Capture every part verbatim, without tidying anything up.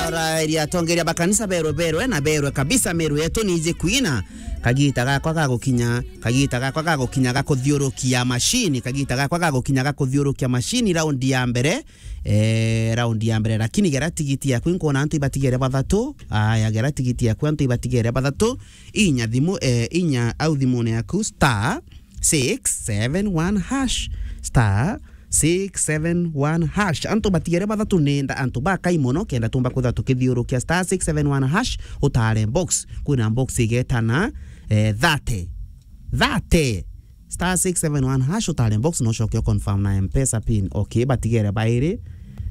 Ora iria atongeria ba kanisa berwe, berwe na berwe kabisa, Meru yetu ni iji kuina. Kagita gakwa ga gukinya, kagita gakwa ga gukinya ga kuthiurukia machine, kagita gakwa ga gukinya ga kuthiurukia machine raundi ya mbere. Eh, raundi ya mbere, lakini gera tigiti yaku, inkwona antu ibatigere bathatu. Aya, gera tigiti yaku, antu ibatigere bathatu. Inya thimu, eh, inya au thimune yaku, star six seven one hash, star six seven one hash. Antu batigere bathatu, nenda antu bakai mono, kenda tumba kwithirwa tukithiurukia star six seven one hash, utare box. Kwina box igetana, eh, thirty. Thirty. Star six seven one hash, utare box, no ucoke u confirm na M-Pesa pin. Okay, batigere bairi.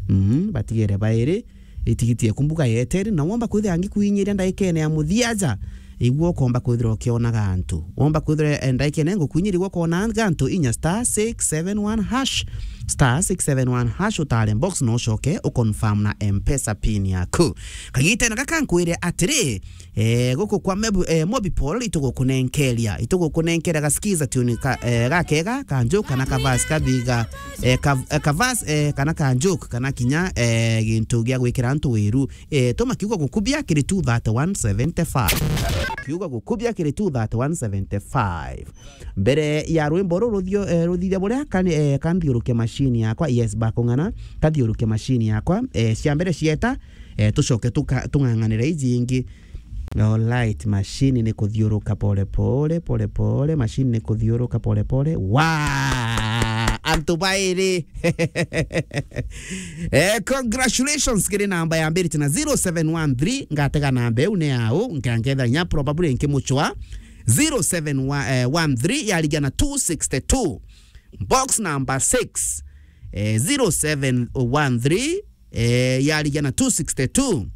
Mhm, batigere bairi. Itigiti eku mbuga yeteri, na womba kwithira ngikuinyiria ndaikene ya muthia ja, igua ukomba kwithira ukionaga antu. Womba kwithira, eh, ndaikene ngukuinyiria igua ukonaga antu, inya star six seven one hash, star six seven one hash, utare box, no ucoke u confirm na M-Pesa pin yaku. Kagitene gaka nkwire atiri, eh, guku kwa Mebu-, eh, Mobipol itugukunenkeria, itugukunenkeria gaskiza tune ka, eh, gakega, kanju kana kavasi kathiga, eh, kav-, eh, kavasi, eh, kana kanjuk, kana kinya, eh, gintu gia gwikira antu wiru. Eh, tuma kiugo gukubia kiri two thirty one seventy five. Kiugo gukubia kiri two thirty one seventy five. Mbere ya rwimbo ruru ruthio-, eh, ruthithia buria kani-, eh, kanthiuruke machine yakwa, yes, bakung'ana, kathiuruke machine yakwa, eh, cia mbere cieta, eh, tucoke tuka-, tung'ang'anire iji ingi. Alright, machine ni kuthiuruka pole pole, pole pole, machine ni kuthiuruka pole pole. Wa! Antu bairi. Eh, congratulations kiri namba ya mbiri tena zero seven one three, ngatega namba iu ni yau, nkangetha inya probably nkimuchwa. Zero seven one three yarigia na two sixty two. Box number six. Eh, zero seven one three, eh, yarigia na two sixty two.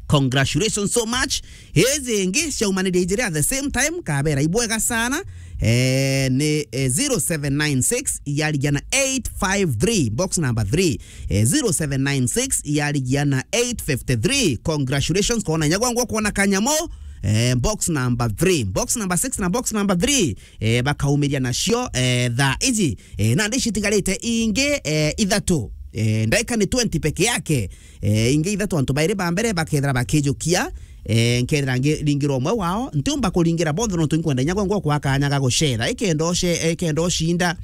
Congratulations so much. Hizi ingi ciaumanirie ijiri at the same time, kabera ibwega sana. Eh, ni, eh, zero seven nine six yarigia na eight five three, box number three. Eh, zero seven nine six yarigia na eight fifty three. Congratulations, kona nyagwa ngwa kuona kanyamo. Eh, box number three. Box number six na box number three. Eh, bakaumiria nacio, eh, thaa iji. Eh, nandi citigarite ingi, eh, ithatu. Eh, ndaika ni twenty peke yake. Eh, ingi ithatu antu bairi ba mbere bakethira bakijukia. Eh, nkethira ngiringira umwe wao. Ntiumba kuringira bonthe nontu inkwenda inya gwe ngwa kwa kanya ga gucetha. Ikenda uce-, ikenda ucinda.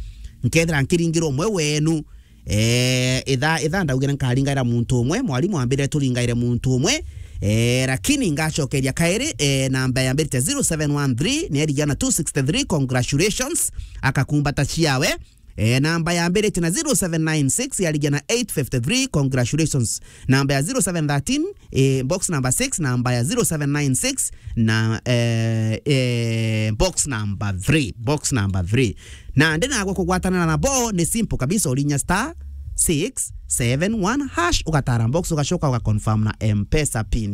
Nkethira nkiringira umwe wenu. Eh, itha, itha ndaugire nkaringaira muntu umwe, mwarimu ambire turingaire muntu umwe. Eh, lakini ngacokeria kairi, eh, namba yambirite zero seven one three, ni yarigia na two sixty three, congratulations, akakumbata ciawe. Eh, namba yambirite na zero seven nine six, yarigia na eight fifty three, congratulations. Namba ya zero seven thirteen, eh, box number six, namba ya zero seven nine six, na, eh, eh, box number three, box number three. Na ndi nagwe kugwatanira na bo ni simple kabisa, urinya star six seven one hash, ugatara box, ugacoka ugaconfirm na M-Pesa pin ya